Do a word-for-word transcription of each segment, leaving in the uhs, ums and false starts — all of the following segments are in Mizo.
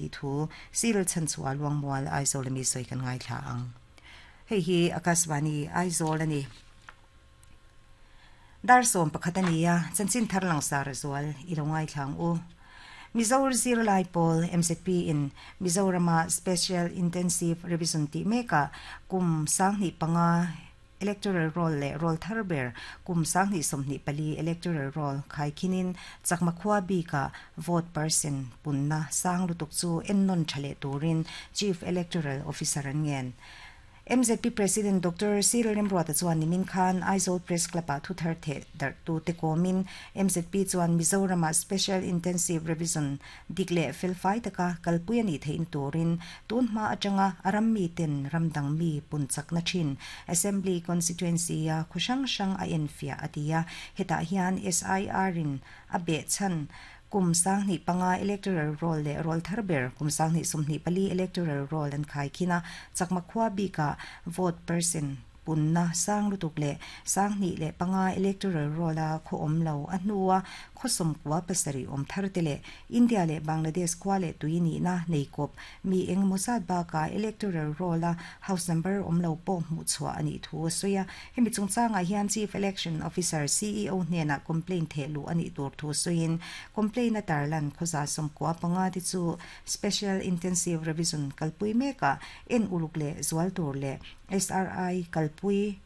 ani thu Cyril Chanchua Luangmual Aizawl mi soi kan ngai thla ang. Hei hi Akashvani Aizawl ani. Dar som pakhat ania chanchin thar lang sar zual i lo ngai thlang u. Mizoram Zirlai Pawl M Z P in Mizorama Special Intensive Revision ti meka kum sangni panga electoral roll le roll tharber kum sangni somni pali electoral roll khai khinin chakma khwa bi ka vote percent punna sang lutuk chu ennon thale turin Chief Electoral Officer an ngen. M Z P President Doctor Cyril Remruata chuan nimin khan Aizawl Press Club a thu thar the dar tu te komin M Z P chuan Mizorama Special Intensive Revision dikle felfai taka kalpui ani thein turin tun hma atanga aram mi ten ramdang mi punchak na thin Assembly Constituency a khushang sang a enfia atia heta hian S I R in a be chan kum sangni panga electoral roll le roll tharber kum sangni sumni pali electoral roll an khai khina chakma khwa bi ka vote percent punna sang lutuk le sangni le panga electoral roll a kho om lo a hnuwa khosom kwa pasari om thar te le India le Bangladesh kwa le tuini na neikop mi eng mosat ba ka electoral roll a house number om lo po mu chwa ani thu soya hemi chungchanga hian Chief Election Officer C E O hnena complaint the lu ani tur thu soin complaint a tarlan khoza som kwa panga ti chu Special Intensive Revision kalpui meka en uluk le zual tur le S R I kalpui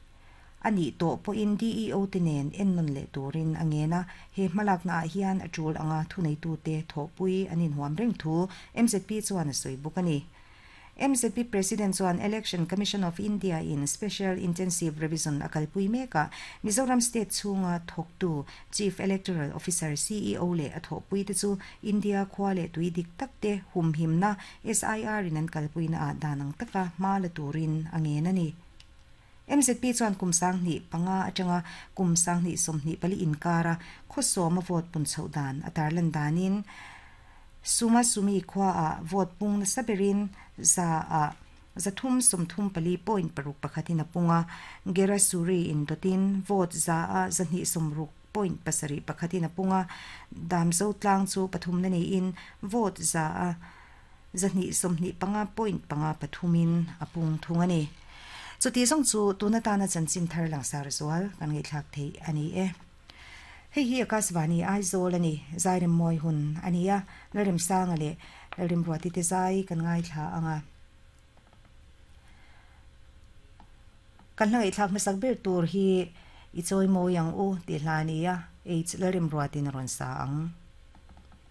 ani to po in D E O tinen ennon le turin angena he malak na hian atul anga thunei tu te thopui anin huam reng thu M Z P chuan soi bukani. M Z P President chuan Election Commission of India in Special Intensive Revision akalpui meka Mizoram State chunga thoktu Chief Electoral Officer C E O le athopui te chu India khwa le tui dik takte humhimna S I R in an kalpui na a danang taka ma la turin angena ni. M Z P chuan kum sangni panga atanga kum sangni somni pali inkara khosoma vote pun chhodan atarlan danin suma sumi khwa a vote pung na saberin za a zathum somthum pali point paruk pakhatin apunga gera suri in dotin vote za a zani somruk point pasari pakhatin apunga damzo tlang chu pathum na ni in vote za a zani somni panga point panga pathumin apung thungani. Chu ti song chu tuna tana chanchin thar lang sar zual kan ngai thlak thei ani e. Hei hi Akashvani Aizawl ani zairim moi hun ania larim sanga le larim ruati te zai kan ngai thla anga kan ngai thlak masak ber tur hi i choi mo yang u ti hlania h larim ruati na ron sa ang.